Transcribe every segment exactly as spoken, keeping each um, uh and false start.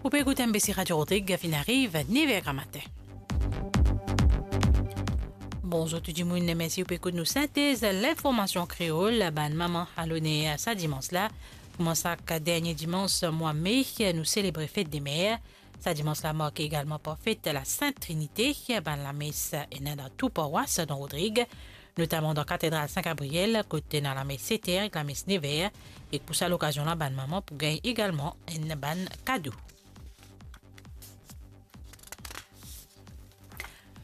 Ou pe ekout M B C Radio Rodrig, finn ariv nef er gramatin. Bonzour tou dimoun, mersi ou pe ekout nou sintez linformasion kreol. Bann manman aloner sa dimans la. Kouma sak dernie dimans mwa me, nou selebre fet de mer. Sa dimans la marke egalman par fet Lasint Trinite, bann lames ena dan tou parwas dan Rodrig, notaman dan Katedral Sin Gabriel, kot ena lames set er ek lames nef er, ek pou sa lokazion la, bann manman pou gagn egalman enn bann kado.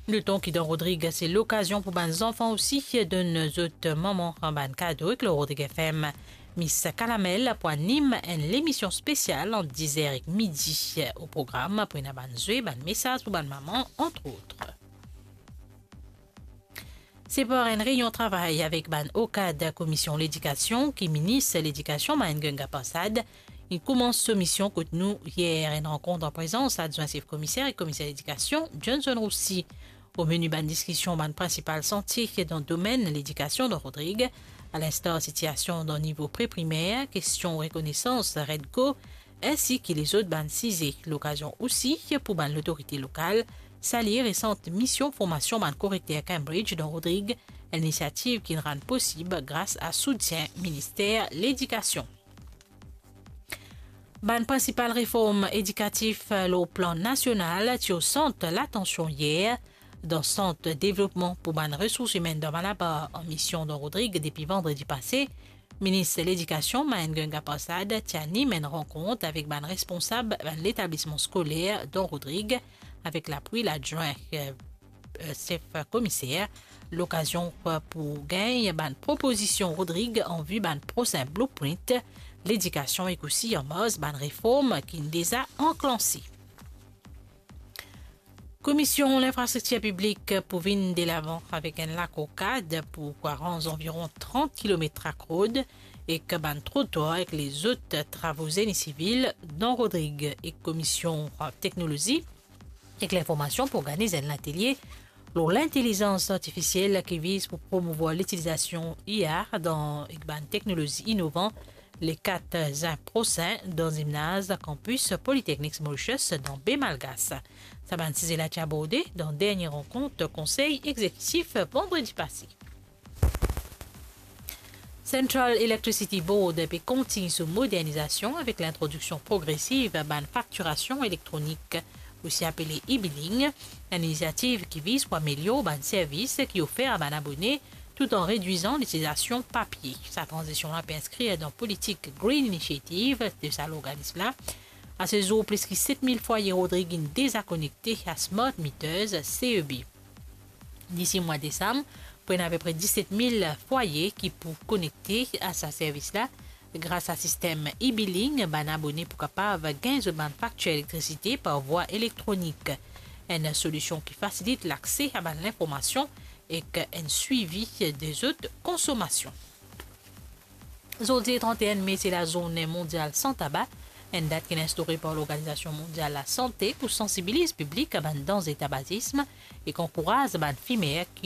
Noton ki dan Rodrig, se lokazion pou bann zanfan osi donn zot manman bann kado, ek lor Rodrig F M, Miss Kalamel pou anim enn lemision spesial ant diz er ek midi. O program pou ena bann zwe, bann mesaz pou bann manman, antrot. Se par enn reynion travay avek bann o kad Komisyon Ledikasion ki Minis Ledikasion Mahengo Ganga Persad inn koumans so mision kot nou yer, enn rankont an prezans Adwin Sef Komiser ek Komiser Ledikasion Johnson Roussy. O meni bann diskision, bann prinsipal santie dan domenn ledikasion dan Rodrig, alinstar sitiasion dan nivo pre-primer, kestion rekonesans REDCO, ensi ki lezot bann size. Lokazion osi pou bann lotorite lokal salie resan mision formasion bann korekter Cambridge dan Rodrig, enn inisiativ ki'nn rann posib gras a soutien Minister Ledikasion. Bann prinsipal reform edikatif lor plan nasional ti o sant latansion yer dan Sant Devlopman pou bann Resours Imenn dan Malabar an mision dan Rodrig depi vandredi pase. Minis Ledikasion Mahengo Ganga Persad ti anim enn rankont avek bann responsab bann letablisman skoler dan Rodrig, avek lapwi ladwin, eh, eh, sef komiser. Lokazion pou gagn bann propozision Rodrig an vi bann prosin blueprint ledikasion ek osi an mars bann reform ki'nn deza anklanse. Komisyon Linfrastriktir Piblik pou vinn delavan avek enn lakor kad pou aranz anviron trant kilomet trak rod ek bann trotwar ek lezot travo Zeni Sivil dan Rodrig, ek Komisyon Teknolozi ek Linformasyon pou organiz enn latelie lor lintelizans artifisiel ki viz pou promouvwar litilizasyon I A dan, ek bann teknolozi inovan, le kat zin prosin dan zimnaz kanpis Politeknik Mauritius dan Be Malgas. Sa bann size la ti aborde dan dernie rankont Konsey Egzekitif vandredi pase. Central Electricity Board pe kontign so modernizasyon avek lintrodiksion progresiv bann faktirasion elektronik, osi apele e-billing, enn inisiativ ki viz pou amelior bann servis ki ofer a bann abone, tout an redwizan litilizasyon papie. Sa tranzisyon la pe inskrir dan politik Green Initiative de sa lorganism la. A se zour, plis ki set mil fwaye Rodrig inn deza konekte a smart meters, C E B. Disi mwa desam, pou ena apepre diset mil fwaye ki pou konekte a sa servis la. Gras a sistem e-billing, bann abone pou kapav gagn zot bann faktir elektrisite par vwa elektronik. Enn solisyon ki fasilit lakse a bann linformasyon ek enn swivi de zot konsomasyon. Zordi trant e enn me, se lazourne mondial san taba, enn dat ki'nn instaure par Lorganizasyon Mondial Lasante pou sansibiliz piblik a bann danze tabazism ek ankouraz bann fimer ki